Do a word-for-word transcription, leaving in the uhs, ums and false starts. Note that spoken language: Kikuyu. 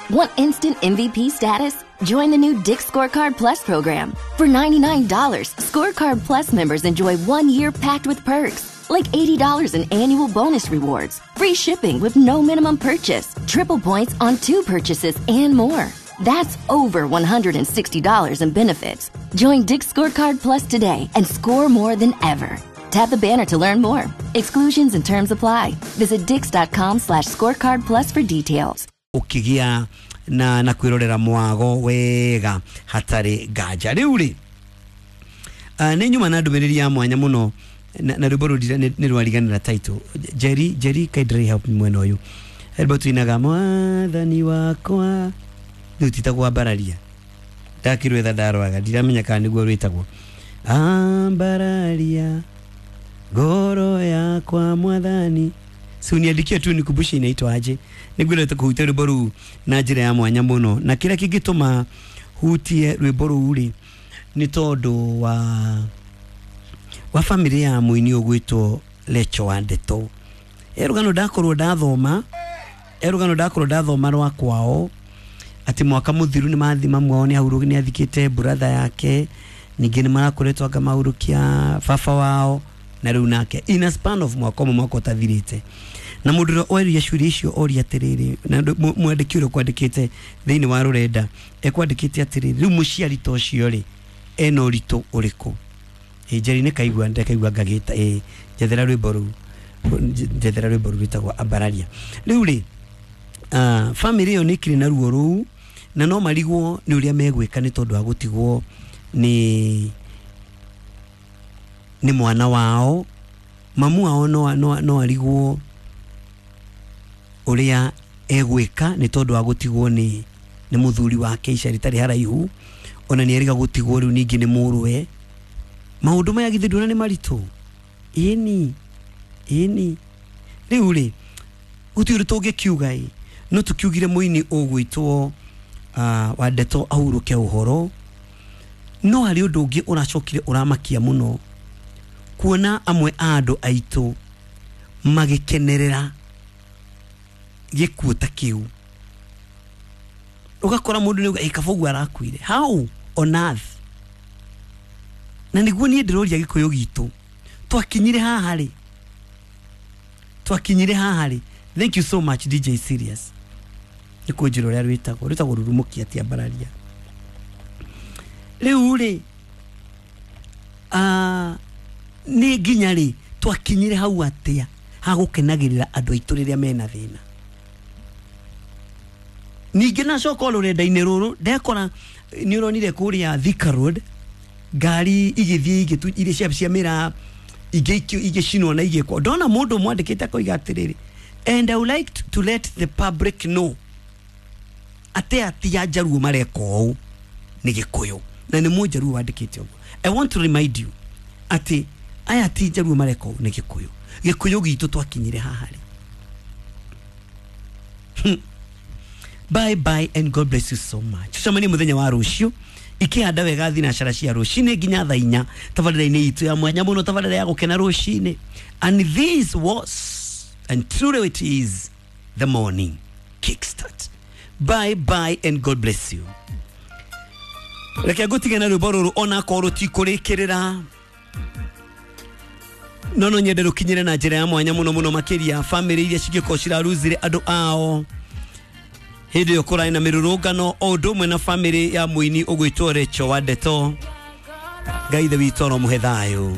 Want instant M V P status? Join the new Dick's Scorecard Plus program. For ninety-nine dollars, Scorecard Plus members enjoy one year packed with perks, like eighty dollars in annual bonus rewards, free shipping with no minimum purchase, triple points on two purchases, and more. That's over one hundred sixty dollars in benefits. Join Dick's Scorecard Plus today and score more than ever. Tap the banner to learn more. Exclusions and terms apply. Visit dicks.com slash scorecard plus for details. Ukigia na na kwirorera mwago wega hatari nganja riu ri uh, nĩ nyuma na ndũmĩrĩri ya mwanya mũno na, na rwĩmbo rũu nĩ rwariganĩra title. Jerry Jerry kindly help me mwena ũyũ rwĩmbo tuinaga mwathani wakwa rĩu titagwo ambararia ndakĩrwetha ndarwaga ndiramenya kana nĩguo rwĩtagwo ambararia ngoro yakwa mwathani. Si uniandikie tu nikumbushe inaitwa aje. Nĩngwendete kũhutia rwĩmbo rũu na njĩra ya mwanya mũno, na kĩrĩa kĩngĩtũma hutie rwĩmbo rũu rĩ nĩ tondũ wa wa family ya mũini ũgwĩtwo Lecho wa Ndeto. Rũgano ndakorwo ndathoma rũgano ndakorwo ndathoma rwa kwao atĩ mwaka mũthiru nĩ mathi mamu wao nĩ ahurũ nĩ athikĩte brother yake, ningĩ nĩ marakoretwo anga mahurũkia baba wao na rĩu nake in a span of mwaka ũmwe mwaka ũtathirĩte. Na mũndũ ũrĩa oria ciũria icio oria atĩrĩrĩ, na mwandĩki ũrĩa ũkwandĩkĩte thĩinĩ wa rũrenda ekwandĩkĩte atĩrĩrĩ, rĩu mũciari ta ũcio rĩ ena ũritũ ũrĩkũ? Ĩ Njeri nĩ kaigua ndekaigua ngagĩta ĩ njethera rwĩmbo rũu njethera rwĩmbo rũu rwĩtagwo ambararia. Rĩu rĩ uh, family ĩyo nĩ ĩkĩrĩ na ruo rũu na no marigwo nĩ ũrĩa megwĩka nĩ tondũ wa gũtigwo nĩ nĩ mwana wao. Mamu wao no, no, no arigwo ũrĩa egwĩka nĩ tondũ wa gũtigwo nĩ nĩ mũthuri wake ica rĩtarĩ haraihu, ona nĩ eriga gũtigwo rĩu ningĩ nĩ mũrũwe. Maũndũ maya githĩ nduona nĩ maritũ? Ĩni ĩni rĩu rĩ gũtirĩ ũndũ tũngĩkiuga ĩ no tũkiugire mũini ũgwĩtwo uh, wa Ndeto ahurũke ũhoro. No harĩ ũndũ ũngĩ ũracokire ũramakia mũno kuona amwe a andũ aitũ magĩkenerera gĩkuũ ta kĩu. Ũgakora mũndũ nĩ auga kaba ũguo arakuire, how on earth? Na nĩguo niĩ ndĩroria gĩkũyũ gitũ twakinyire haha rĩ twakinyire haha rĩ. Thank you so much D J Serious nĩ kũnjĩra ũrĩa rwĩtagwo rwĩtagwo rurumũkia ti ambararia. Rĩu rĩ ah nĩ nginya rĩ twakinyire hau atĩa ha gũkenagĩrĩra andũ aitũ rĩrĩa mena thĩna? Ningĩ nacoka rũrenda-inĩ rũrũ ndekora nĩ ũronire kũrĩa Thika Road ngari igĩthiĩ igĩtu iria cia cia mĩraa ingĩ igĩcinwo na igĩkwo. Ndona mũndũ mwandĩkĩte akoiga atĩrĩrĩ, and I would like to let the public know atĩ ati a Njaruo mareka ũũ nĩ Gĩkũyũ, na nĩ Mũnjaruo wandĩkĩte ũguo. I want to remind you atĩ aya ti Njaruo mareka ũũ nĩ Gĩkũyũ. Gĩkũyũ gitũ twakinyire haha rĩ. Bye bye and God bless you so much. Tucemanie mũthenya wa rũciũ ikĩhanda wega thinacara cia rũcinĩ nginya thaa inya tabarĩra-inĩ itũ ya mwanya mũno, tabarĩra ya gũkena rũcinĩ. And this was and truly it is the morning kickstart. Bye bye and God bless you. Reke ngũtige na rwĩmbo rũrũ onakorwo rũtikũrĩkĩrĩra, no no nyende rũkinyĩre na njĩra ya mwanya mũno mũno makĩria family iria cingĩkorwo ciraruzire andũ ao hĩndĩ ĩyo kũrarĩ na mĩrũrũngano, o ũndũ ũmwe na family ya mũini ũgwĩtwo Rachel wa Ndeto. Ngai Ithe witũ aromũhe thayũ.